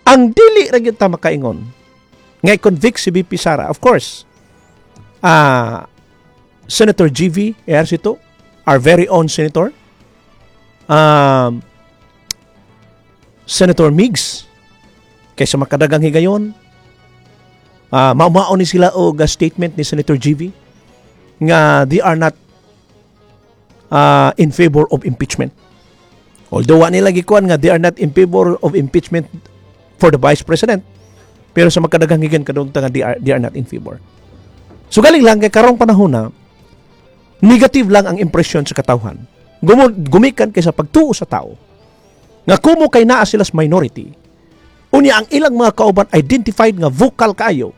Ang dili ra gyud ta makaingon nga i-convict si VP Sara, of course, Senator GV Ejercito, our very own senator, Senator Migs, kaysa makadagang higayon, maumao ni sila og statement ni Senator GV nga they are not in favor of impeachment. Although wa nila gikuan nga they are not in favor of impeachment for the Vice President, pero sa makadagang higayon kadung nga they are not in favor. So galing lang kay karong panahon na negative lang ang impresyon sa katawhan. Gumikan kay sa pagtuo sa tao nga kumo kay naa sila sa minority. Unya ang ilang mga kauban identified nga vocal kaayo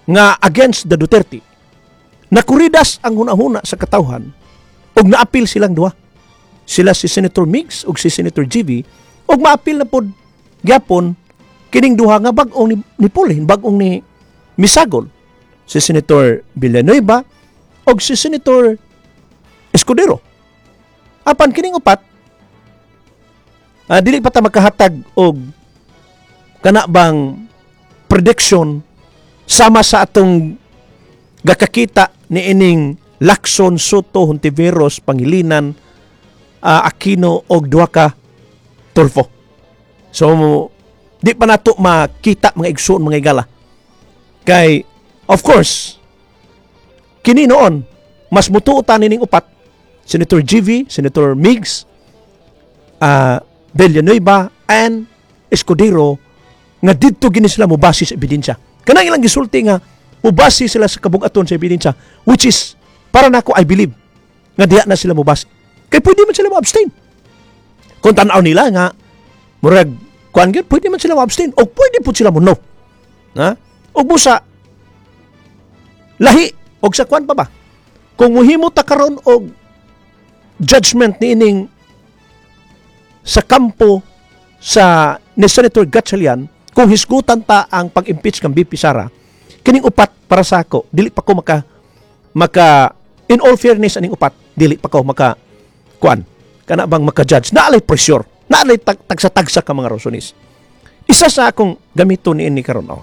nga against the Duterte. Nakuridas ang hunahuna sa katawhan ug naapil silang duha. Sila si Senator Migs ug si Senator GV ug maapil na pod gyapon kining duha nga bag-ong ni Pulhin, bag-ong ni misagol, si Senator Villanueva ug si Senator Escudero. Apan kining upat, dili pa ta makahatag og kana bang prediction sama sa atong gakakita ni ining Lacson, Sotto, Hontiveros, Pangilinan, Aquino og duha ka Tulfo. So di pa nato makita, mga igsoon, mga igala. Kay of course kini noon mas mutuo ta nining upat, Senator GV, Senator Migs, Villanueva and Escudero, nga didto gini sila mobase sa ebidensya. Kanang ilang gisulti nga mobase sila sa kabugaton sa ebidensya, which is para nako, I believe nga diha na sila mobase. Kay pwede man sila mo-abstain. Kung tan-aw nila nga murag kuan gyud, pwede man sila mo-abstain o pwede pud sila mo no. Ha? Og busa lahi og sa kuan pa ba? Kung muhimo ta karon og judgment niining sa kampo sa ni Senator Gatchalian, kung hisgutan ta ang pag-impeach kang VP Sara, kining upat para sa ako dili pa ko maka maka in all fairness, aning upat dili pa ko maka kuan kana bang maka-judge. Naalay pressure, naalay tagsa-tagsa ka mga rasones. Isa sa akong gamito ni ini karon, oh.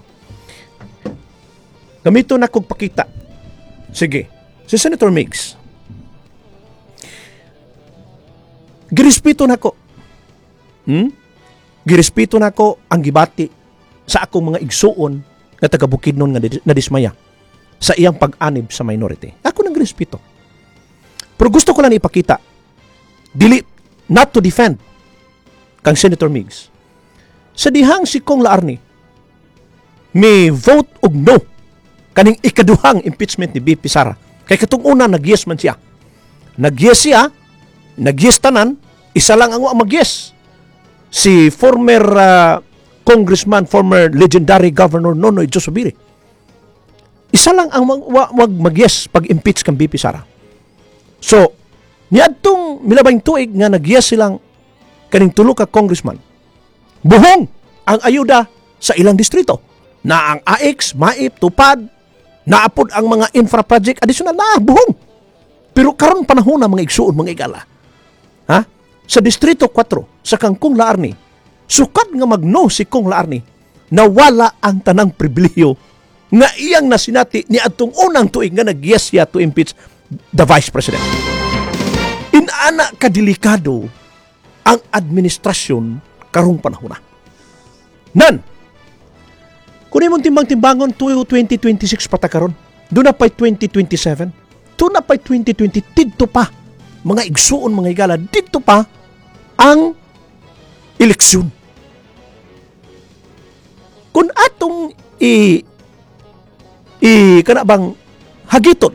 Gamito na kog pakita. Sige, si Senator Migs, girespeto nako. Girespeto nako ang gibati sa akong mga igsuon nga taga Bukidnon nga nadismaya sa iyang pag-anib sa minority. Ako nang girespeto. Pero gusto ko lang ipakita, dili not to defend kang Senator Migs. Sa dihang si Kong Laarni may vote og no kaning ikaduhang impeachment ni BP Sara. Kay katong una nag-yes man siya. Nag-yes siya, nag-yes tanan, isa lang ang wa mag-yes. Si former congressman, former legendary governor Nonoy Joe Zubiri. Isa lang ang wag mag-yes pag-impeach kang BP Sara. So, niadtong milabang tuig nga nag-yes silang kaning tulo ka congressman, buhong ang ayuda sa ilang distrito. Na ang AX, MAIP, Tupad, naapod ang mga infra project additional na buhong. Pero karon panahon na, mga igsuon, mga igala. Ha? Sa Distrito 4, sa kang Kong Laarni, sukad nga magno si Kong Laarni, nawala ang tanang pribilehiyo nga iyang nasinati ni atong unang tuig nga nag-yes siya to impeach the Vice President. Inana kadelikado ang administrasyon karong panahon na. Nan, kung imong timbang-timbangon, 2026 pa ta karon, doon na pa'y 2027, doon na pa'y 2020, didto pa, mga igsuon, mga higala, didto pa ang eleksyon. Kung atong i kana bang hagiton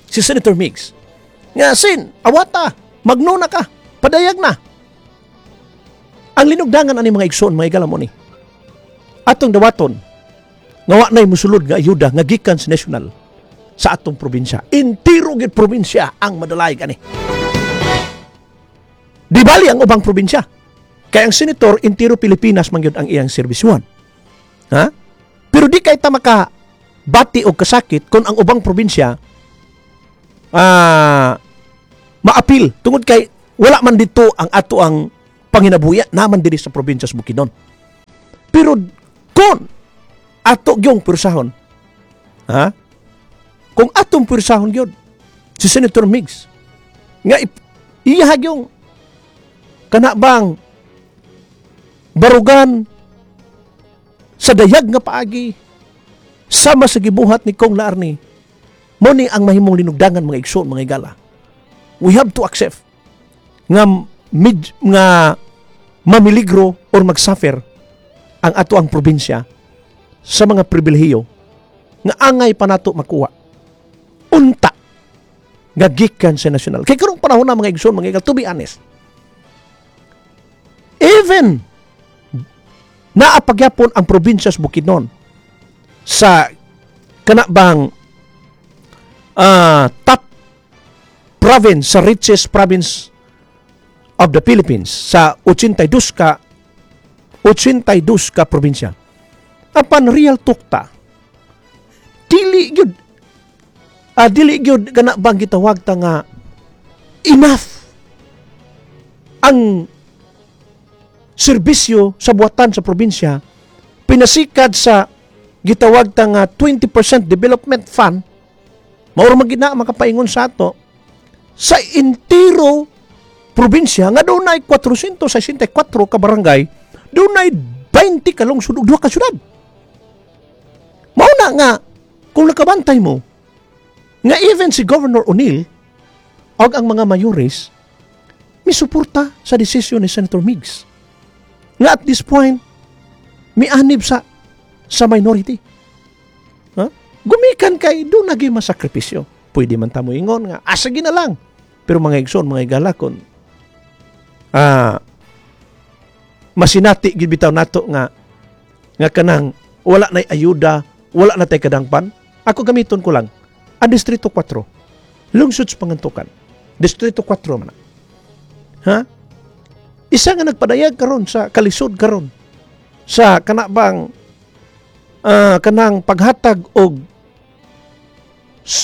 si Senator Migs nga sin awata magno na ka, padayag na ang linugdangan ani, mga igsoon, mga higala, mo ni atong dawaton nga wa nay musulod nga ayuda nga gikan sa national sa atong probinsya. Entiro gid probinsya ang madalayg ani. Di bali ang ubang probinsya. Kay ang senator, entiro Pilipinas man gyud ang iyang serbisyuhan. Ha? Pero di kay ta maka bati og kasakit kung ang ubang probinsya maapil tungod kay wala man dito ang ato ang panginabuya naman diri sa probinsya sa Bukidnon. Pero kung ato gyung pursahon, ha? Kung atong pursahon gyud si Senator Migz nga iya gyung kana bang barugan sa dayag nga paagi sama sa gibuhat ni Kong Laarni, mo ni ang mahimong linugdangan, mga igsoon, mga igala. We have to accept nga mid, nga mamiligro or magsuffer ang ato ang probinsya sa mga pribilehiyo nga angay pa nato makuha unta nga gikan sa national. Kay karong panahon na, mga igsoon, mga igala, to be honest, even naa pa gyapon ang probinsya sa Bukidnon sa kana bang top province, sa richest province of the Philippines sa 82 ka probinsya. Apan real talk ta, dili gyud kana bang gitawag ta nga enough ang serbisyo sa buhatan sa probinsya pinasikad sa gitawag ta nga 20% development fund. Mao ra man gid na makapaingon sa ato sa entiro probinsya nga dunay 464 ka barangay, dunay 20 ka lungsod ug 2 ka syudad. Mao na nga kung nakabantay mo nga even si Governor O'Neil og ang mga mayores misuporta sa desisyon ni Senator Migz nga at this point mianib sa minority. Ha? Gumikan kay duna gyud masakripisyo. Pwede man ta mo ingon nga asa na lang. Pero mga igsoon, mga igala, kon masinati gid bitaw nato nga nga kanang wala nay ayuda, wala na tay kadangpan. Ako, gamiton ko lang ang Distrito 4. Lungsod sa Pangantukan. Distrito 4 man na. Ha? Isa nga nagpadayag karon sa kalisod karon sa kana bang kanang paghatag og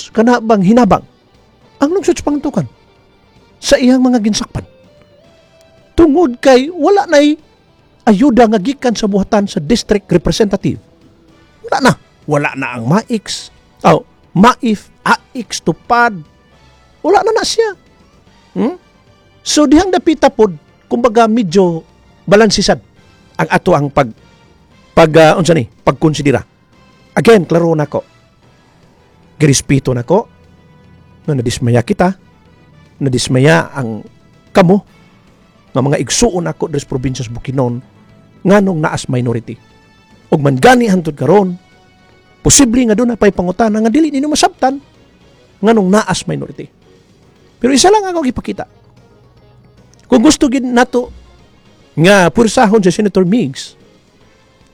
kana bang hinabang ang lungsod sa Pangantukan sa iyang mga ginsakpan tungod kay wala nay ayuda nga gikan sa buhatan sa district representative. Wala na. Wala na ang MAIX. Oh, MAIF, AICS, TUPAD. Wala na na siya. So dihang dapita pod, kumbaga medyo balansisad ang ato ang pag pag unsa ni pagkonsidera. Again, klaro nako. Girespeto nako nga nadismaya kita, nadismaya ang kamo nga mga igsuon ako diri sa probinsya sa Bukidnon nganong naas minority. Ug man gani hantod karon, posible nga duna pay pangutana nga dili ninyo masabtan nganong naas minority. Pero isa lang ako gipakita. Kung gusto gid nato nga pursahon si Senator Migz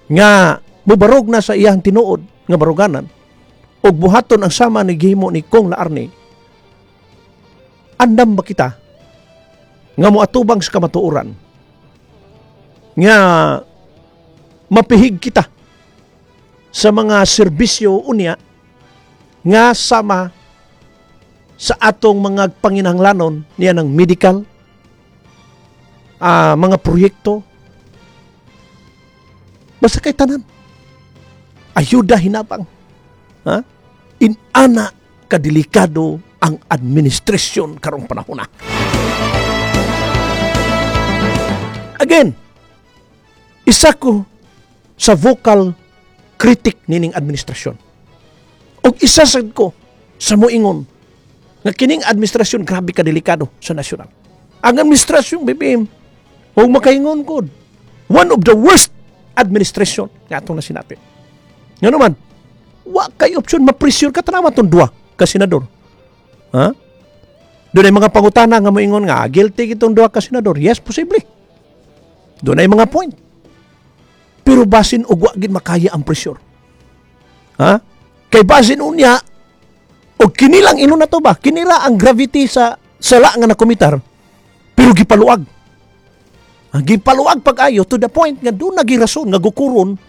nga mubarog na sa iyang tinuod nga baruganan ug buhaton ang sama ni gihimo ni Kong Laarni, andam ba kita nga moatubang sa kamatuoran nga mapihig kita sa mga serbisyo unya nga sama sa atong mga panginahanglanon niya ng medical, mga proyekto, basta kay tanan ayuda, hinabang, ha? Inana kadelikado ang administrasyon karong panahon na. Again, isa ko sa vocal critic nining administrasyon. Og isa sad ko sa moingon nga kining administrasyon grabe ka delikado sa nasyonal. Ang administrasyon BBM, huwag makaingon ko, one of the worst administration nga atong nasinati. Nga naman, wa kay option, ma-pressure ka, tanawa tong duha ka senador. Ha? Dunay mga pangutana nga moingon nga guilty kitong duha ka senador. Yes, posible. Dunay mga point. Pero basin og wa gid makaya ang pressure. Ha? Kay basin unya og kinilang ino na to ba? Kinira ang gravity sa sala nga nakomitar. Pero gipaluag. Ang gipaluag pag-ayo to the point nga duna gyud rason nga gukuron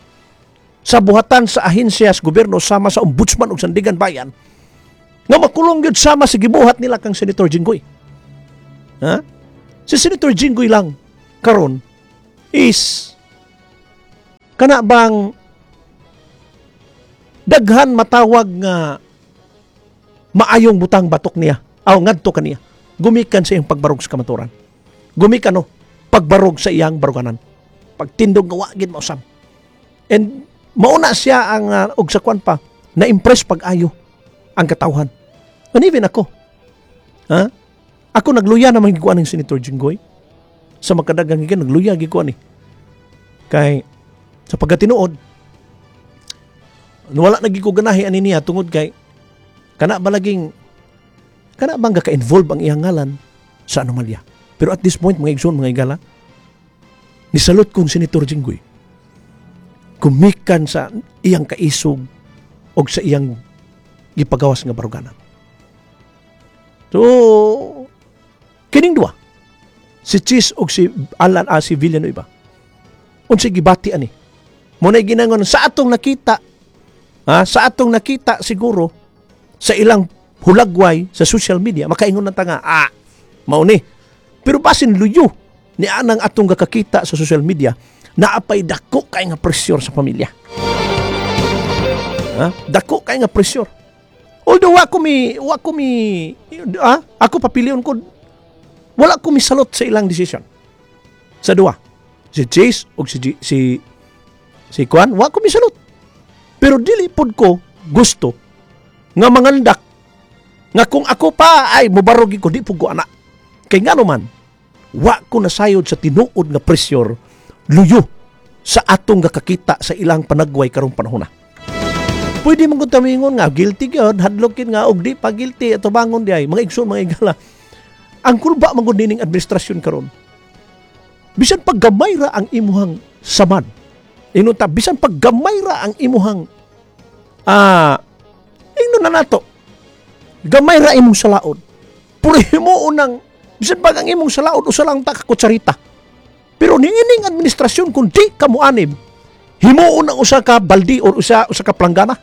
sa buhatan sa ahensya sa gobyerno sama sa ombudsman ug Sandigan Bayan nga makulong gyud sama sa gibuhat nila kang Senator Jinggoy. Ha? Si Senator Jinggoy lang karon is Kana bang daghan matawag nga maayong butang batok niya aw ngadto kaniya gumikan sa iyang pagbarog sa kamaturan, gumikan, no, pagbarog sa iyang baruganan, pagtindog nga wa gid mausab. And mauna siya ang og sa kwan pa na-impress pag-ayo ang katawhan. And even ako, ha, ako nagluya naman gikuan ng Senator Jinggoy sa makadagang gikan, nagluya gikuan ni kay sa pagkatinuod wala na gid ko ganahi ani niya tungod kay kana balaging kana bang ka-involve ang iyang ngalan sa anomalya. Pero at this point, mga igsoon, mga igala, nisalot kong Senator Jinggoy gumikan sa iyang kaisog og sa iyang gipagawas nga baruganan. So kining duha, si Chiz og si Alan, si Villanueva, unsay gibati ani mo na ginangon sa atong nakita, ha, sa atong nakita siguro sa ilang hulagway sa social media, makaingon na ta nga mao ni. Pero basin luyo ni anang atong gakakita sa social media, naapay dako kay nga pressure sa pamilya, ha? Dako kay nga pressure. Although wa ko mi ako papilion ko, wala ko misalot sa ilang decision sa duha, si Chiz o si Kwan, wa ko misalot. Pero dili pod ko gusto nga mangandak nga kung ako pa ay mobarog ko, di pud ko ana. Kay ngano man wa ko nasayod sa tinuod nga pressure luyo sa atong gakakita sa ilang panagway karong panahon na. Pwede man gud tamingon nga guilty gyud, hadlok gyud nga og di pa guilty ato bangon di ay. Mga igsoon, mga igala, ang kulba man gud nining administrasyon karon. Bisan pag gamay ra ang imuhang samad, ingon ta, bisan pag gamay ra ang imuhang ingnon na nato, gamay ra imong salaod, pero himuon ng bisan pag ang imong salaod usa lang ta ka kutsarita, pero niining administrasyon, kung di ka moanib, himuon ang usa ka baldi or usa ka planggana.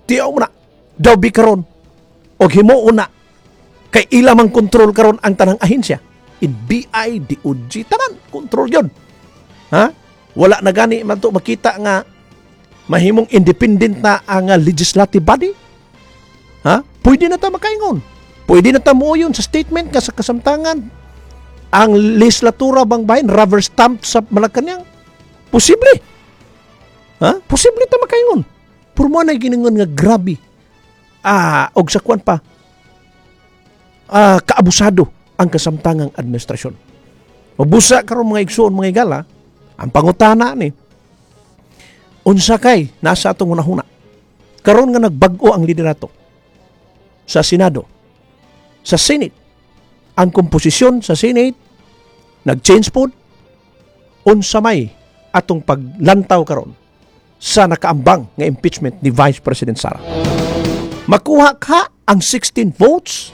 Tiyaw mo na daw bi karon og himuon na kay ila mang kontrol karon ang tanang ahensya, NBI, DOJ, tanan kontrol yon, ha. Wala na gani man to makita nga mahimong independent na ang legislative body, ha. Pwede na ta makaingon, pwede na ta muoyon sa statement nga sa kasamtangan ang legislatura bang bahin rubber stamp sa Malacanang. Posible, ha, posible ta makaingon. Pero mo na giningon nga grabe og sa kwan pa kaabusado ang kasamtangang administrasyon. Mabusa karon, mga igsoon, mga igala, ang pangutana ni, unsa kay nasa atong hunahuna karon nga nagbag-o ang liderato sa Senado, sa Senate, ang komposisyon sa Senate nag-change pod? Unsa may atong paglantaw karon sa nakaambang nga impeachment ni Vice President Sara? Makuha ka ang 16 votes?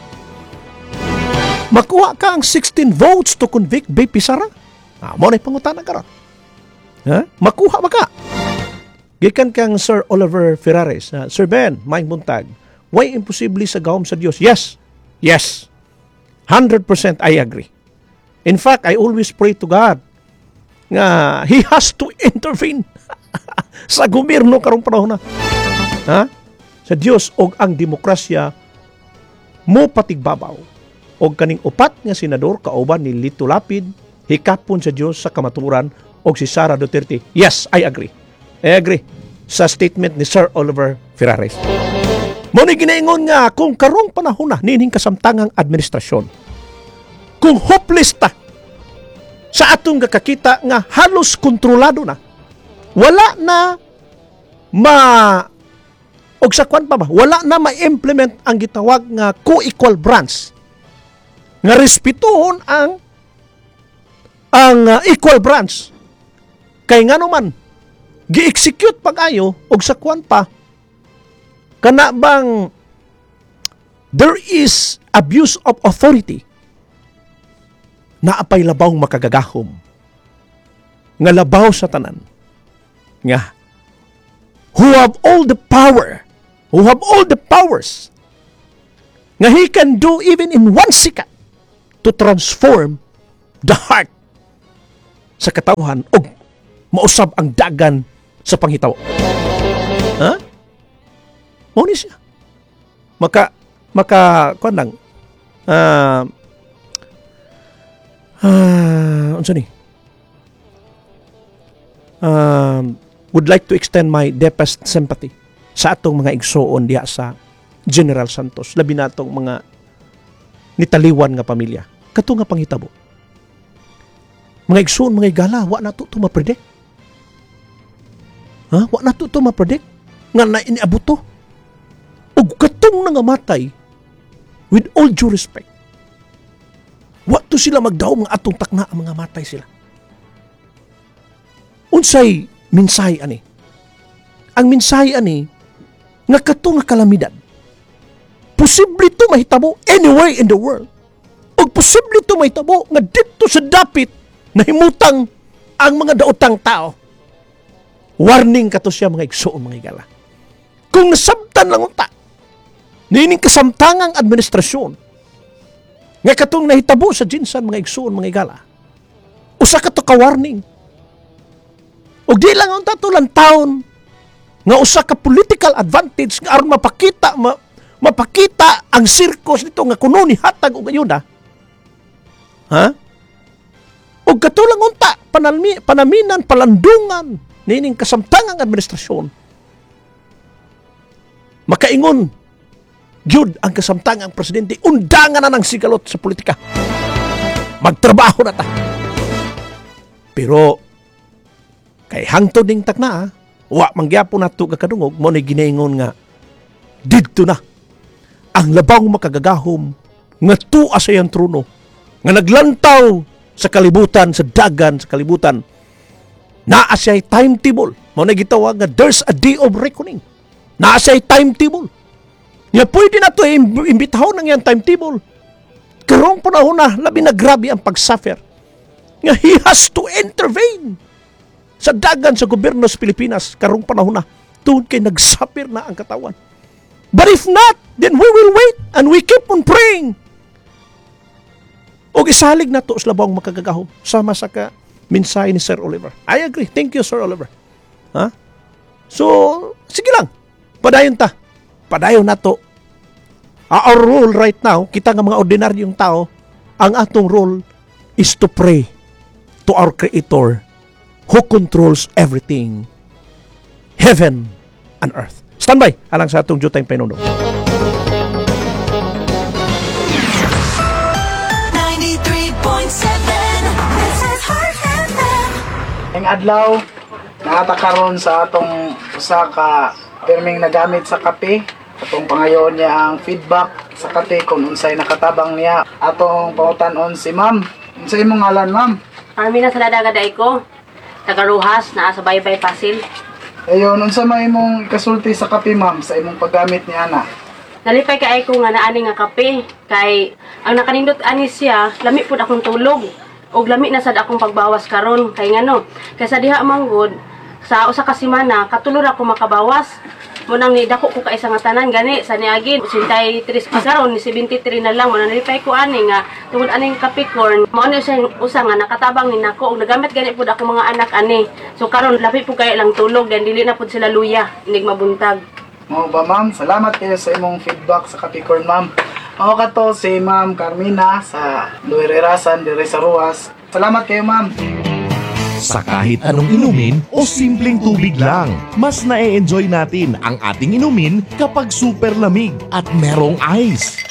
Makuha ka ang 16 votes to convict VP Sara? Mo na pangutana karon. Ha? Makuha ba ka? Gikan kang Sir Oliver Ferraris, "Sir Ben, maayong buntag. Way imposible sa gahom sa Dios?" Yes. Yes. 100% I agree. In fact, I always pray to God nga He has to intervene sa gobyerno karong panahon na. Ha? Sa Dios og ang demokrasya mo patigbabaw og kaning upat nga senador kauban ni Lito Lapid hikapon sa Dios sa kamatuoran og si Sara Duterte. Yes, I agree. I agree sa statement ni Sir Oliver Ferraris. Mo ni ginaingon nga kung karong panahon na niining kasamtangang administrasyon, kung hopeless ta sa atong gakakita nga halos kontrolado na, wala na ma og sa kwan pa ba, wala na ma-implement ang gitawag nga co-equal branch, nga respetuhon ang equal branch kay ngano man gi-execute pag-ayo og sa kwan pa kana bang there is abuse of authority, naapay labaw makagagahom nga labaw sa tanan nga who have all the power, who have all the powers, nga he can do even in one second to transform the heart. Sa katawhan og mausab ang dagan sa panghitabo. Ha? Mao ni siya. Maka maka kuan lang, unsa ni? Would like to extend my deepest sympathy sa atong mga igsuon diha sa General Santos, labi na atong mga nitaliwan nga pamilya. Kato nga panghitabo. Mga igsuon, mga igala, wa na to ma-predict. Ha? Wa na to ma-predict nga na iniabot to. Ug katong nangamatay, with all due respect, wa to sila magdaom nga atong takna ang mga matay sila. Unsay mensahe ani? Ang mensahe ani nga kato nga kalamidad, posible to mahitabo anywhere in the world. Ug posible to mahitabo nga dito sa dapit nahimutang ang mga daotang tao. Warning kato siya, mga igsuon, mga igala. Kung nasabtan lang unta nining kasamtangang administrasyon nga katong nahitabo sa GenSan, mga igsuon, mga igala, usa ka to ka warning. Ug di lang unta to taon nga usa ka political advantage nga aron mapakita ang circus nito nga kuno ni hatag og ayuda. Ha? Ug kato lang unta panaminan, palandungan nining kasamtangang administrasyon. Makaingon gyud ang kasamtangang presidente, undangan na ng sigalot sa politika. Magtrabaho na ta. Pero kay hangtod ning takna, wa man gyapon nato kakadungog mo ni ginaingon nga didto na ang labang makagagahom nga tuwa sa iyang trono nga naglantaw sa kalibutan, sa dagan sa kalibutan. Naa siya timetable. Mo na gitawag nga there's a day of reckoning. Naa siya timetable nga pwede na to imbitahon ang iyang timetable. Karong panahon na, labi na grabe ang pag-suffer nga he has to intervene sa dagan sa gobyerno sa Pilipinas karong panahon na tungod kay nagsuffer na ang katawan. But if not, then we will wait and we keep on praying. Og isalig na to sa labong makagagahom sama sa ka mensahe ni Sir Oliver. I agree. Thank you, Sir Oliver. Ha? So, sige lang. Padayon ta. Padayon na to. Our role right now, kita nga mga ordinaryong tao, ang atong role is to pray to our Creator who controls everything, heaven and earth. Stand by alang sa atong jutay pahinumdom. 93.7. This is Heart FM. Ang adlaw, naa ta karon sa atong usa ka pirming nagamit sa kape. Atong pangayoon niya ang feedback sa kape kung unsay nakatabang niya. Atong pangutan-on si Ma'am. Unsay imong ngalan, Ma'am? Armina sa Ladaga ko. Taga Roxas, naa sa Baybay Pasil. Ayon, unsa may imong ikasulti sa kape, Ma'am, sa imong paggamit ni ana? Nalipay kay ko nga naani nga kape kay ang nakanindot ani siya, lami pud akong tulog. Og lami na sad akong pagbawas karon kay ngano? Kay sa diha manggod sa usa ka semana katulo ra ko makabawas. Mo nang nidako ko kaisa nga tanan gani sa niagin 83 pa, karon ni 73 na lang. Mo nang nalipay ko ani nga tungod aning Capricorn, mao ni siya usa nga nakatabang ni nako og nagamit gani pud ako mga anak ani. So karon labi pud kay lang tulog dan dili na pud sila luya inig mabuntag. Mao ba, Ma'am? Salamat kayo sa imong feedback sa Capricorn, Ma'am. Mao kato si Ma'am Carmina sa Lower Irasan, dire sa Roxas. Salamat kayo, Ma'am. Sa kahit anong inumin o simpleng tubig lang, mas na-enjoy natin ang ating inumin kapag super lamig at merong ice.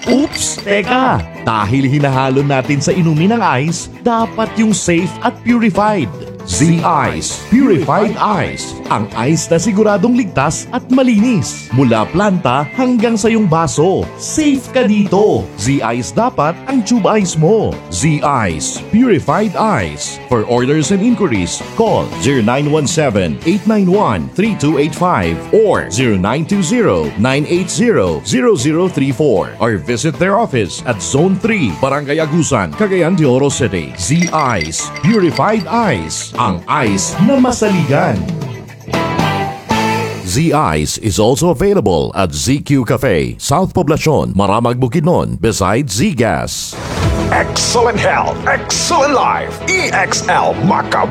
Oops! Teka! Dahil hinahalo natin sa inumin ang ice, dapat yung safe at purified. Z-Ice Purified Ice. Ang ice na siguradong ligtas at malinis. Mula planta hanggang sa iyong baso. Safe ka dito. Z-Ice dapat ang tube ice mo. Z-Ice Purified Ice. For orders and inquiries, call 0917-891-3285 or 0920-980-0034 or visit their office at Zone 3, Barangay Agusan, Cagayan de Oro City. Z-Ice Purified Ice. Ang ice na masaligan. Z-Ice is also available at ZQ Cafe, South Poblacion, Maramag, Bukidnon, beside Z-Gas. Excellent health, excellent life. EXL Maka.